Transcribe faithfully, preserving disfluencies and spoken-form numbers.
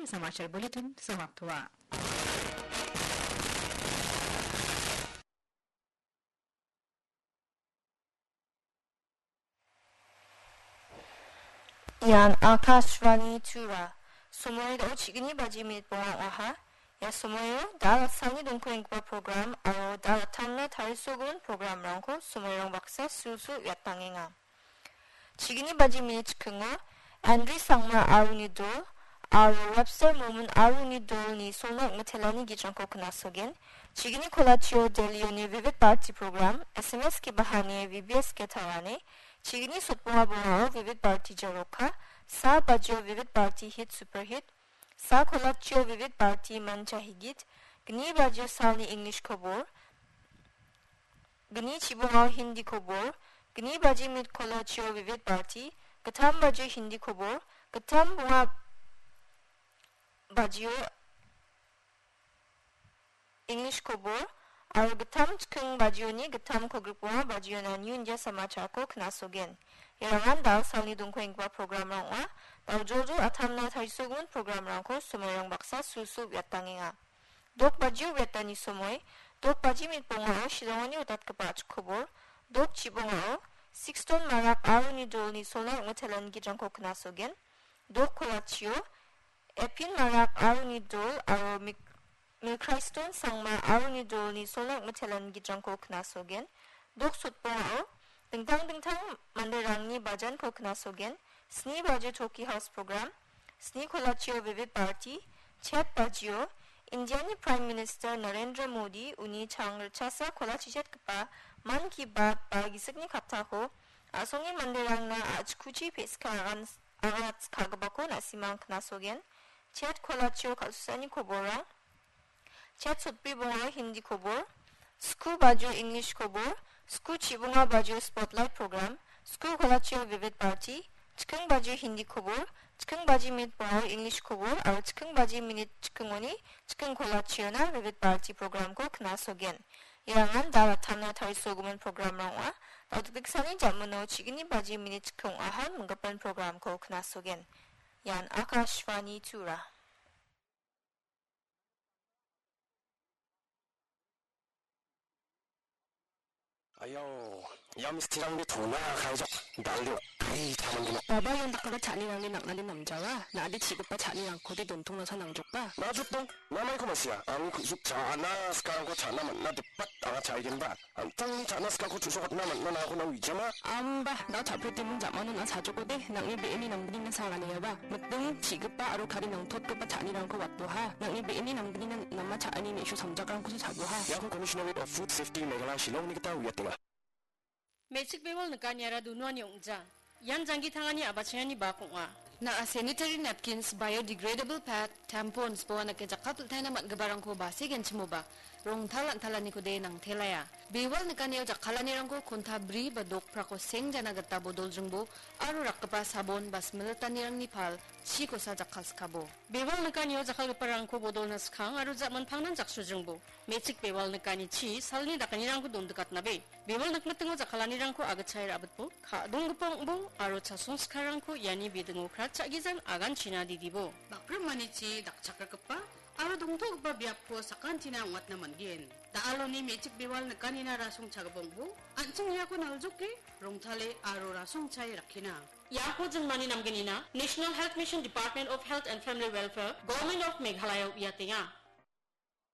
Samachar Bulletin samapto ong·a. Ian Akashvani Tura. Somoido chigni baji minit bonga ong·aha. Ia somoio da salni dongko enggipa program aro da tamna tarisogimin programrangko somoirang baksa sulsul uiatangenga. Chigni baji minit chikingo Andri Sangma aroni dol aro Webster Momon aroni dolni solna ong·mitelani gitrangko knasogen. Chigni kolachio Delhioni Vivid Bharati program, S M S ke bahane V B S ke tawane. Chigni sotbonga bongao Vivid Bharati Jaroka, sa bajio Vivid Bharati Hit Superhit, sa kolachio Vivid Bharati Mancha Higit, gni bajio salni English kobor, gni chibongao Hindi kobor, gni baji mit kolachio Vivid Bharati, gittam bajio Hindi kobor, gittam bonga bajio English kobor, aro gittam chiking bajioni gittam kolgrikbonga bajiona New India Samacharko knasogen. Iarangan da salni dongko enggipa programrang ong·a. Da joljol atamna tarisogimin programrangko somoirang baksa sulsul uiatangenga. Dok bajio uiatani somoi, dok baji mit bongao Shillongoni odatgipa a·chik kobor, dok chibongao Sixton Marak aroni dolni solna ong·mitelan gitrangko knasogen. Dok kolachio Epin Marak aroni dol aro Mik-, Milkraiston Sangma aroni dolni solna ong·mitelan gitrangko knasogen. Dok sotbongao dingtang dingtang manderangni bajanko knasogen. Sni bajio Toki House program, sni kolachio Vivid Bharati, chet bajio Indiani Prime Minister Narendra Modi uni chang ritchasa kolachichetgipa Mann Ki Baat ba gisikni kaptako a·songni manderangna a·chikuchi pe·sika agan-, aganatskagipako na·simang knasogen. Chet kolachio kal·susani koborrang. Chet sotbri bongao Hindi kobor. Sku bajio English kobor. Sku chibonga bajio Spotlight program. Sku kolachio Vivid Bharati. Chiking bajio Hindi kobor. Chiking baji minit bongao English kobor. Aro chiking baji minit chikingoni chiking kolachiona Vivid Bharati programko knasogen. Iarangan da ratamna tarisogimin programrang ong·a. Da·o dikdiksani jamino chigni baji minit chiking ong·aha minggipa programko knasogen. Ian Akashvani Tura. Ayau, ia misterangde tona kaijok, dal·o, ai, taman gina. Baba ian dakgipa cha·anirangni nang·nade namjawa, na·ade chi·gipa cha·nirangkode dontongnasa nangjoka. Na jotdong, na maiko ma·sia, angni ku·suk cha·na sikarangko cha·na man·na dipat anga cha·igenba. An·tangni cha·na sikako chu·sokatna man·na nangako na uijama? Amba, da·o cha·preteming jamano na·a chajokode, nang·ni be·eni nanggnina saganiaba. Miting, chi·gipa aro kari nangtotgipa cha·anirangko watboha. Nang·ni be·eni nanggnina nama cha·ani me·su samjakrangkosa chaboha. Iako Commissionerate of Food Safety Meghalaya Shillongni gita uiatenga. Me·chik bewal nikaniara dunuani ong·ja. Ian janggi tangani a·bachengani bak ong·a. Na·a sanitary napkins, biodegradable pad, tampons, boanake jakkalpiltaina man·giparangko base genchimoba, rongtal an·talanikode nangtelaia. Bewal nikanio jakkalanirangko konta bri ba dokprako sengjana gita bodoljingbo aro rakgipa sabon ba smilitanirangni pal chikosa jakkalskabo. Bewal nikanio jakkalgiparangko bodolna skang aro ja·manpangnan jaksojingbo. Me·chik bewal nikani chi salni dakanirangko dondikatnabe. Bewal nikmitingo jakkalanirangko agitchae ra·bitbo, ka·donggipa ong·bo aro chasong sikarangko iani bidingo kratcha·gijan aganchina didibo. Bakrimanichi dakchakrakgipa aro dongtogipa biapko sakantina ong·atna man·gen. Da·aloni me·chik bewal nikanina rasongchagipa ong·bo, an·ching iako naljoke, rongtale aro rasongchae rakkina. Iako jinmani namgnina National Health Mission, Department of Health and Family Welfare, Government of Meghalaya uiatenga.